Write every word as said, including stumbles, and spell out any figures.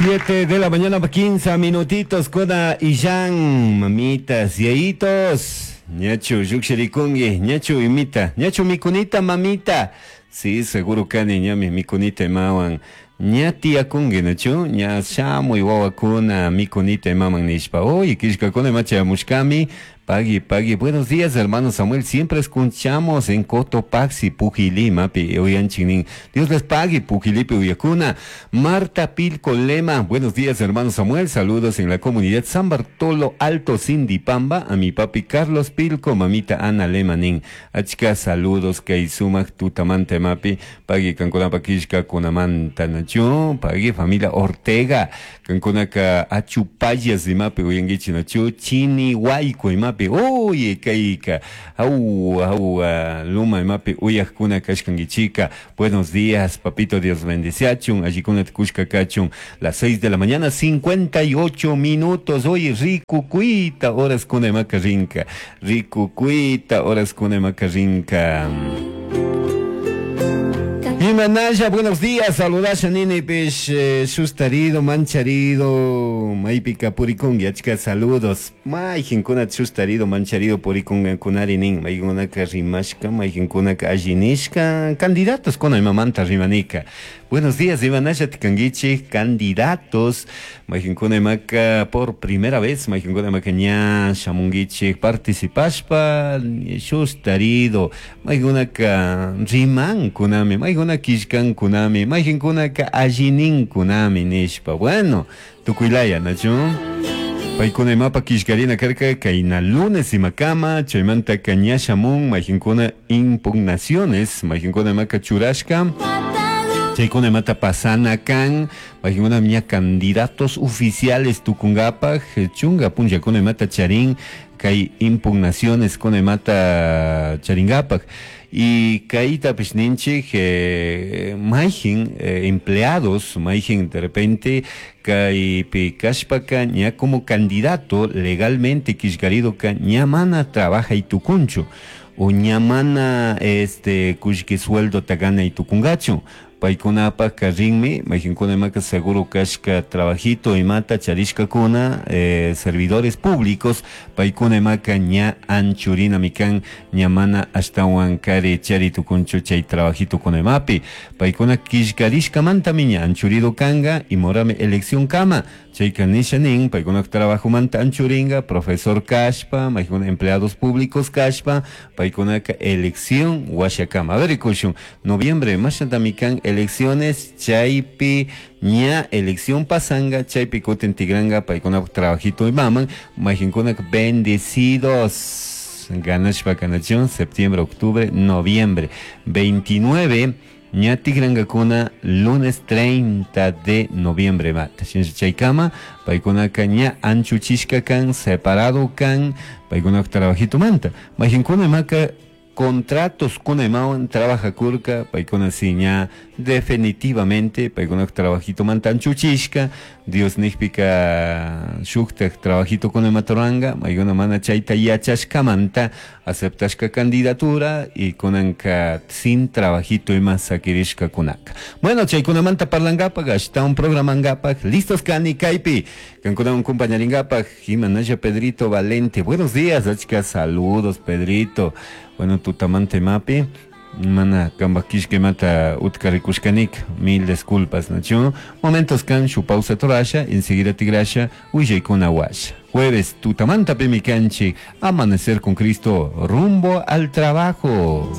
Siete de la mañana, quince minutitos, Koda y Jan, mamitas, yayitos. Ñachu, llukshirikungi, ñachu imita, ñachu mikunita, mamita. Sí, seguro kani, ñami mikunita imawan. Ña tiyakungi, nachu, ña shamuy wawakuna mikunita imaman nishpa. Oye, kishkakuna ima chayamushkami. Pagui, pagui. Buenos días, hermano Samuel. Siempre escuchamos en Cotopaxi, Pujilí, mapi, uyanchinin. Dios les pague, Pujilipi, uyakuna. Marta Pilco Lema. Buenos días, hermano Samuel. Saludos en la comunidad San Bartolo Alto Sindipamba. A mi papi Carlos Pilco, mamita Ana Lema nin. Achka, saludos, kay sumak tutamanta mapi. Pagui, kankunapa kishka, kunamanta nachu. Pagui, familia Ortega. Kankunaka achupayas, imapi, uyangichi nachu. Chini, huayco, imapi. Oye, kayka, au, au, luma imapi uyakuna kashkangichika. Buenos días, papito, Dios bendeciachun, allikuna tukushka kachun. Las seis de la mañana, cincuenta y ocho minutos. Oye, rico cuita, horas kuna imaka rinka. Rico cuita, horas kuna imaka rinka. Imanaya, buenos días, saludasha nini pish, eh, shustarido, mancharido, maipika purikungi, achka saludos. Maijinkuna shustarido, mancharido, purikunga kunari nin, maikunaka rimashka, maijinkuna allinishka, candidatos kuna imamanta rimanika. Buenos días, Imanaya tikangichi, candidatos, maijinkuna imaka por primera vez, maijinkuna imaka ña shamungichi, participashpa, shustarido, maikunaka riman kunami, maikuna kishkan kunami, maijinkuna allinin kunami nishpa. Bueno, tukuylaya, nachu. Paykuna imapa kishkarina karka kayna lunes imakama, chaymanta kañashamun, maijinkuna impugnaciones, maijinkuna imaka churashka. Chaykuna imata pasana kan, maijinkuna ña candidatos oficiales tukungapaj, chunga punllakuna imata charin, kay impugnaciones kuna imata charingapaj. Y kayta pish ninchik, eh, maijin, eh, empleados, maijin de repente kaypi kashpaka ña como candidato legalmente kishkarido ka ña mana trabaja y tukunchu o ña mana este kushki sueldo tagana y tukungachu. Paykunapaj rinmi, mayjinkuna imaka seguro kashka trabajito imata charishkakuna, eh, servidores públicos, paykuna imaka ña anchurina mikan ña mana ashtawan kari chari tukunchu chay trabajito kuna imapi. Paykuna kishkarishkamantami ña anchurido kanga y morame elección kama. Chayka nisha nin, paykuna trabajomanta anchuringa, profesor kashpa, mayjinkuna empleados públicos kashpa, paykunaka elección washakama. A ver, ikushun, noviembre, mashatamikan elecciones, chaypi ña elección pasanga, chaypi kutin tigranga, paykuna trabajito y maman, mayjinkuna bendecidos. Ganashpa kanachun, septiembre, octubre, noviembre, veintinueve, ña tigrangakuna, lunes treinta de noviembre, mata. Chaykama, paykunaka ña anchuchishka kan, separado kan, paykuna trabajito manta. Mayjinkuna imaka contratos kuna imawan trabaja kurka, paykuna si ña definitivamente, paykuna trabajito manta anchuchishka, Dios nijpika shuktak trabajito kuna imatoranga, maykuna mana chayta yachashkamanta, aceptashka candidatura y kunanka sin trabajito ima sakirishka kunaka. Bueno, chaykunamanta parlangapaj, ashtawan programangapaj, listos kani kaypi, kankunawan compañaringapaj, Imanaya Pedrito Valente, buenos días, achka saludos Pedrito. Bueno, tutamante mapi, mana kambakishke mata utkarikushkanik, mil disculpas, nachu. Momentos kan, shu pausa torasha, enseguida tigrasha, uyaykuna washa. Jueves, tutamanta pimikanchi, amanecer con Cristo, rumbo al trabajo.